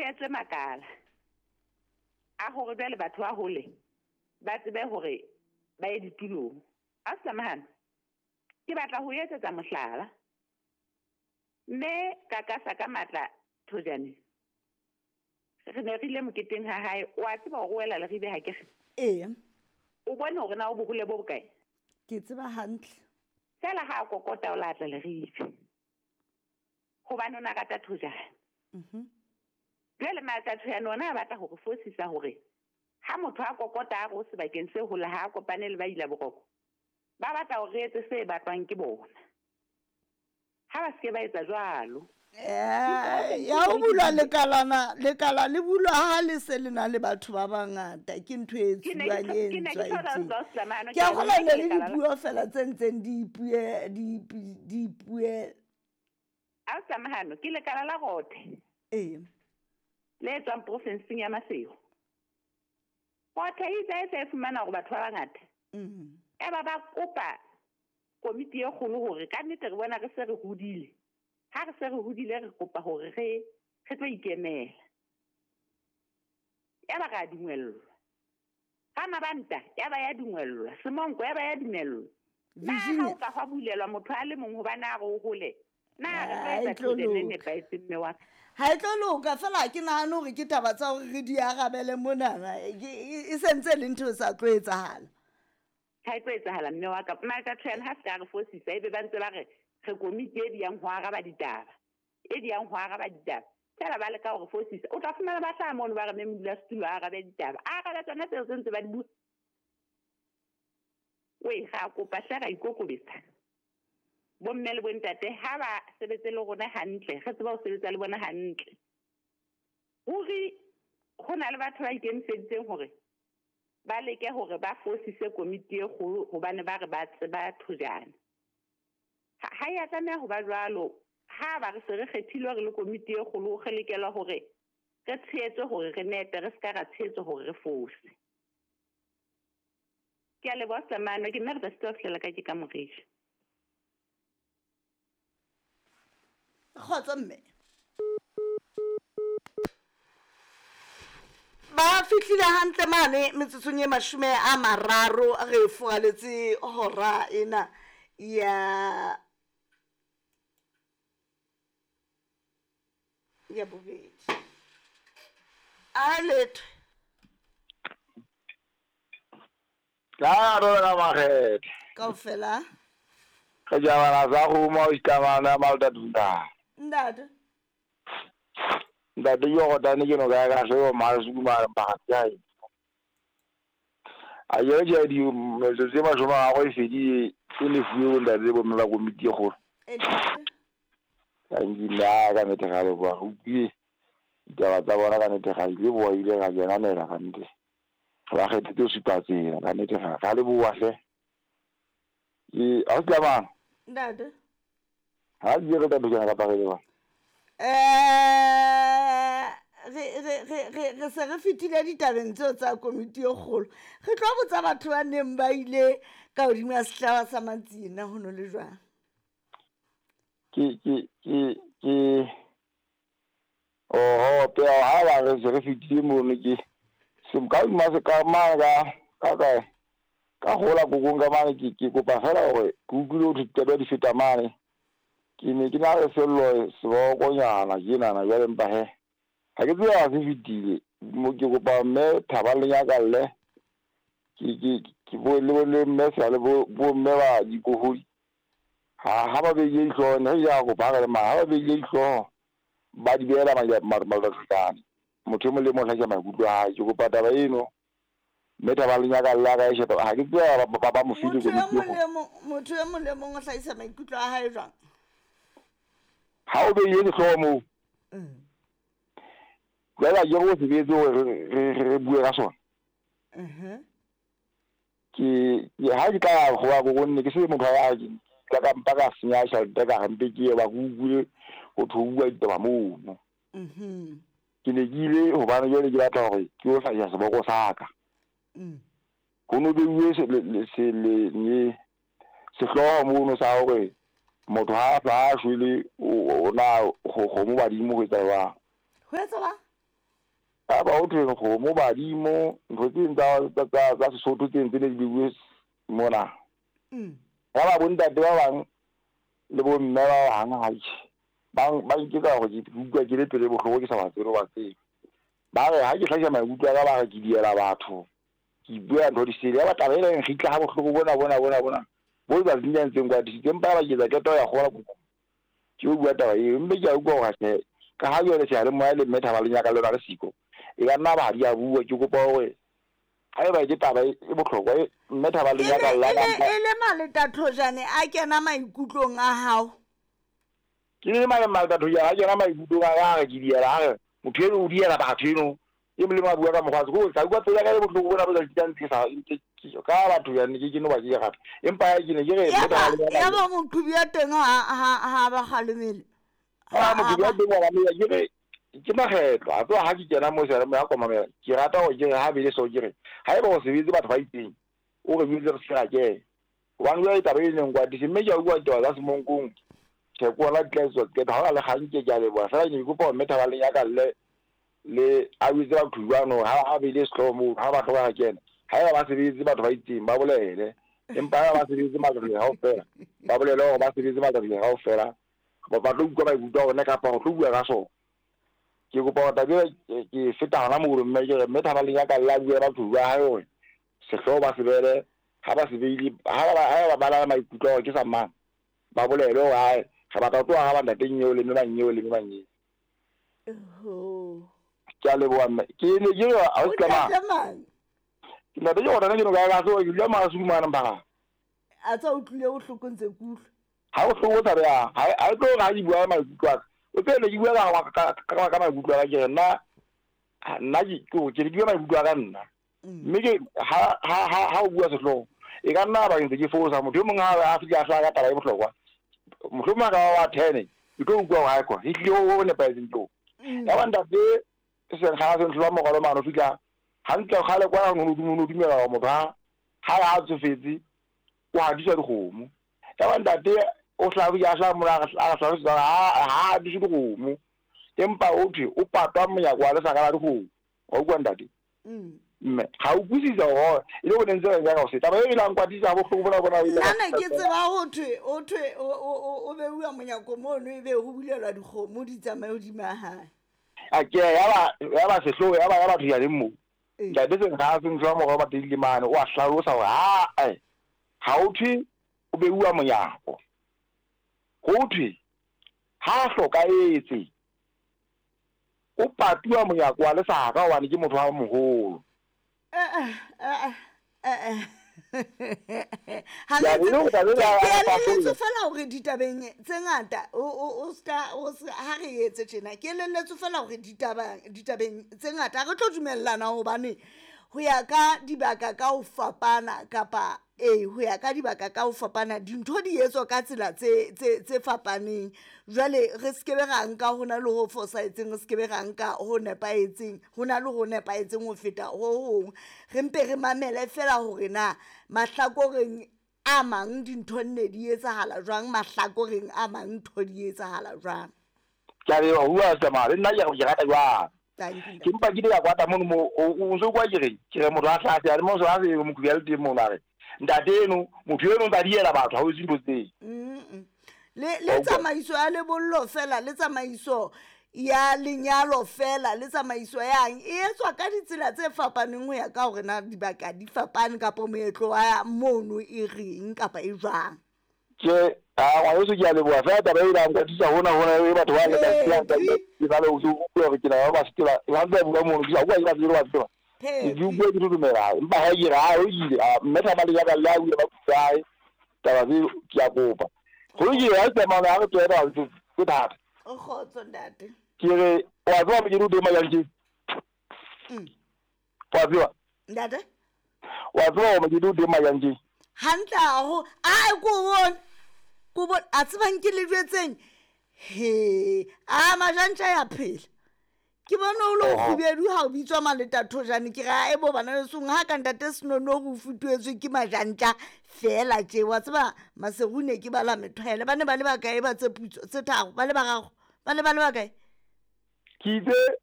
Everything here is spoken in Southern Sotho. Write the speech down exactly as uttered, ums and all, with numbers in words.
etswe makala a hore jwale batho ba hole ba tsebe hore ba ye ditulong. Ausi Tlamahano, ke batla ho etsetsa mohlala. Mme ka kasa ka matla Thojane, re ne re ile moketeng ha hae, o a tseba hore o wela Leribe ha ke re? Eya. O bone hore na o bohole bo bokae? Ke tseba hantle. Fela ha a kokota o la tla Leribe. Hobane o na rata Thojane. Mhm. Jwale matla Thojane ona a batla hore fosisa hore ha motho a kokota a re o sebakeng se hole ha a kopane le ba ila boroko, ba batla hore re etse se batlwang ke bona. Ha ba se ke ba etsa jwalo. Eh, ya ho bulwa lekalana, lekala le bulwa ha le se le na le batho ba bangata, ke ntho e Ke ne ke etsuwang e ke ne ke ntswa thola etseng. Ausi Tlamahano, Ke ke a a kgolwa bona ne ke le lekala la dipuo fela tse ntseng di ipue, di ipu-, di ipue. Ausi Tlamahano, ke lekala la Rothe. Ee. Le tswang profinseng ya Maseru. Rothe e itse ha e se e fumana hore batho ba bangata. Mm. Ya ba ba kopa komiti e kgolo hore ka nnete re bona re se re hodile. Ha re se re hodile re kopa hore re, re tlo ikemela. Ya ba ra dumellwa. Ha Mabanta ya ba ya dumellwa, Semonko ya ba ya dumellwa. Na ha Virginia. o ka hwa bulelwa motho a le mong hobane a re o hole, na re tlo Ha e etsa tlo tjhelete e loka. nepahetseng mme wa ka? Ha e tlo loka fela ha ke nahane hore ke taba tsa hore re di arabele monana, e, ke, e, e sentse e le ntho e sa tlo etsahala. Ha e tlo etsahala mme wa ka. Matla Thojane ha se ka re fosisa, ebe ba ntse ba re re komiti e diyang ho araba ditaba, e diyang ho araba ditaba. Fela ba leka hore fosisa. O tla fumana ba hlaha mono ba re mme modulasetulo a arabe ditaba. A arabe tsona tseo tse ntse ba di bua. Wee, ra kopa hle ra ikokobetsa. Bomme le bontate ha ba sebetse le rona hantle, re tseba ho sebetsa le bona hantle. Ruri ho na le batho ba ikemiseditseng hore ba leke hore ba fosise komiti e kgolo hobane ba re ba tseba Thojane. Ha, ha ya tlameha ho ba jwalo. Ha ba re se re kgethilwe re le komiti e kgolo, re lokela hore re tshehetse hore re nepe, re ska ra tshehetse hore re fose. Ke a leboha Tlamahano, ke nna re tla sitwa ho fihlela ka ke ka moriri. Kgotso mme. Ba fihlile hantle mane metsotsong e mashome a mararo re furaletse hora ena ya ya bobedi. A letho. Ka rona makgethe. Kaofela. Re jabana sa roma o ikamana malta tunda. Ntate. Ntate yo go tane ke no ka ka se ma se kuma ba ga. A ye je di metsotso e mashome a go e fedile e le fuwe ntate bo mme ba komiti e kgolo. E ntate. Ka nkile ka nnete ga le boa, re utlwile ditaba tsa bona ka nnete ga ile boa ile ga kenanela ka nnete. Re ba kgethetse ho supa tsela ka nnete ga, ga le boa hle. Ke, ha o se tlamang? Ntate. Ha ke re tla dukana kapa re le ba? Eh, re, re, re, re, re se re fetile ditabeng tseo tsa komiti e kgolo. Re tlo botsa batho ba neng ba ile ka hodima sehlaba sa Matsina ho no le jwang? Ke, ke, ke, ke, oho, peo, ha ba re se re fetile mono ke, se ka hodima se ka mane ka, ka kae? Ka hola kokong ka mane ke, ke kopa fela hore ke utlwile ho thwe ditaba di feta mane. Ke ne ke na le sello sebokonyana tjenana jwale empa he, ha ke tsebe ha se fetile. Mo ke kopa mme Thaba le Nyakalle, ke, ke, ke bo le bo le mme Sale bo, bo mme ba dikohodi. Ha, ha ba behile dihlooho, ne re ja kopa ha re le mane, ha ba behile dihlooho, ba di behela ma-, ma-, malekane. Motho e mong le mong o hlahisa maikutlo a hae. Ke kopa taba eno, mme Thaba le Nyakalle a ka e sheba. Ha ke tsebe ba, ba, ba mo file Motho e komiti mong e le mong, motho e mong le mong o hlahisa maikutlo a hae jwang? Ha o behile dihlooho moo, Mm. jwale ha ke re o sebetse hore re, re, re, re bue ka sona. Mhm. Ke, ke, ha ke tla ya ho wa ko nne, ke se motho a ke tla ka mpa ka senya tjhelete ka re mpe ke ye ba ke utlwile ho thwe ho bua ditaba mono. Mhm. Ke ne ke ile hobane jwale ke batla hore ke yo hlahisa seboko sa ka. Mm. Ho no beuwe se, le, le, se, le, ne, sehlooho mono sa hore motho ha a sa shwele, o, o na kgomo badimo ho etsa jwang? Ho etsa jwang? A ba ho thwe kgomo badimo ntho tse tsa tsa tsa Sesotho tse ntse le di bue mona. Mm. Ya ba bontate ba bang le bo mme ba bang ha ba ba nketsa hore ke utlwa ke le pele bohloko ke sa ba tsebe ba tsebe. Ba re ha ke hlahisa maikutlo a ka ba re ke diela batho. Ke bua ntho di sele ya ba taba ena e nkgitla ha bohloko bona bona bona bona. Bo ba zinya ntseng kwa disitse empa ba ke etsa qeto ya kgola ke o bua taba eo mme ke a utlwa hore tjhe ka ha jwale seyalemoya le mme Thaba Lenyaka le lona le siko e ka nna ba di a bua ke kopa hore haeba ke taba e bohlokwa e mme Thaba Lenyaka E la le e le maletathojane a kena maikutlong a hao. Ke le male maletathojane a kena maikutlong a ka re ke diela a re motho eno o diela batho eno e molemo a bua ka mokgwa ko ka utlwa pelo ya ka e bohloko bona bo sa ntse ke sa ka batho ya ne ke ke no ba ke gape empa ke ne ke re Ya ba ya ba moqhubi ya teng ha ha ha ba kgalemele. Ha moqhubi ya teng wa ba ke re ke makgetlo a tloha ha ke kena mo seyalemoya komamela ke rata hore ke re ha bele so ke re haeba o sebetse batho ba itseng o re bitswe re se ke hobane jwale taba e neng kwatise mme ke a utlwa ditaba tsa Semonkong tjhe ke ona di tla etswa qeto ha hona le kgang ke ke a leboha fela ke ne ke kopa hore mme Thaba Lenyaka le le a bitswe batho jwano ha a beile sehlooho moo ha ba hloka kena haeba ba sebetse batho ba itseng ba bolele empa haeba ba sebetse matsatsi kaofela ba bolele hore ba sebetse matsatsi kaofela ba ba tlo utlwa maikutlo a bona kapa ho tlo bua ka sona. Ke kopa hore taba ena ke feta hona moo mme ke re mme Thaba Lenyaka le a bue batho ba hae hore sehlooho ba se beele ha ba se beile ha ba ha ba bala maikutlo hore ke sa mang ba bolele hore hae re batla ho tloha ha ba ntateng eo le mme mang eo le mme mang eo. Oho. Ke a leboha mme ke ne ke re ha o O ska mang ntate mang? Ke ntate ke hore ke no ka ka so ke dula Maseru mane mpha. A tsa utlwile bohloko ntse ke utlwa. Ha o hloko taba ya ha ha tlo ha ke bua maikutlo a ka. O tsebe ke bua ka ka ka ka maikutlo a ka ke re nna nna ke ke ke bua maikutlo a ka nna. Mme ke ha ha ha ha o bua sehlooho e ka nna ba ntse ke fosa motho e mong ha a fihla a hlaha ka taba e bohlokwa. Mohlomong a ka ba wa ten ke tlo utlwa hore ha kwa e tlile ho nepahetseng tlo. Ya ba ntate Senkga se ntlwa mogolo mano fihla hantle kgale kwa no no dumela hore motho ha ha a tsofetse o hadiswa dikgomo. Ya ba ntate o hlaha ya hlaha mona a hlalosetsa ha ha hadiswe dikgomo empa o thwe o patwa monyako wa lesaka la dikgomo. Wa utlwa ntate? Mme ha o utlwisisa hore e le o ntse re ka o se taba e la nkwatisa bohloko bona bona o ile Nna ne ke tseba ho thwe o thwe o o beuwa monyako mono ebe ho bulelwa dikgomo di tsamaye hodima hae. A ke ya ba ya ba sehlooho ya ba ya batho ya leng moo. Ntate Senkga se ntlwa morao ba teng mane o a hlalosa hore ha eh ha o thwe o beuwa monyako. Ho thwe ha hlokahetse o patuwa monyako wa lesaka hobane ke motho wa moholo. Eh eh eh Ha Ya, le e le hore taba ena ke ya elelletswe fasolla. fela hore ditabeng tse ngata o o o ska o se ha re etse tjena ke elelletswe fela hore ditaba ditabeng tse ngata ha re tlo dumellana hobane ho ya ka dibaka ka ho fapana kapa eh ho ya ka dibaka ka ho fapana dintho di etswa ka tsela tse tse tse fapaneng. Jwale re skebe ra nka hona le ho fosahetseng, re skebe ra nka ho nepahetseng, hona le ho nepahetseng ho feta ho hong. Re mpe re mamele fela hore na mahlakoreng a mang dintho nne di etsahala jwang, mahlakoreng a mang ntho di etsahala jwang. Ke a leboha ho bua tsamaya le nna ke ke rata jwang. Thank you, Ke mpa ke ile ka kwata mono mo o o ntso kwa ke re ke re motho a hlaha le mo a se moqhubi a le teng mono a re ntate eno motho eno o ntsa diela batho ha o etse dintho tseo. Mm. Le le tsamaiso ya lebollo fela le tsamaiso ya lenyalo fela le tsamaiso yang e etswa ka ditsela tse fapaneng ho ya ka hore na dibaka di fapane kapa moetlo wa mono e reng kapa e jwang. Ke a ngwaneso ke a leboha fela taba e la nkwatisa hona hona e batho ba le ka ke ba le o utlwe hore ke na ba se ba ba ntse ba bua mono ke sa utlwa ke ba tsebe ba tseba. Ke utlwe ke dumela empa ha ke re ha o ile mme Thaba Lenyaka le a bua ba kae taba tse ke a kopa. Ho lokile ha tsamaya ha re tswela tse tse thata. O kgotso ntate. Ke re wa tseba ke di teng majang ke. Mm. Wa tseba? Ntate? Wa tseba hore ke di teng majang ke. Hantle haholo. Ai ko bone. Ko bone a tsebang ke le jwetseng. He, a majantja ya phela. Ke bona o le kgubedu ha o bitswa maletathojane ke ra e bo bana lesong ha ka ntate Senono ho futuetswe ke majantja fela tje wa tseba Maseru ne ke bala methwele ba ne ba le bakae ba tse putso tse tharo ba le bararo ba le ba le bakae Ke itse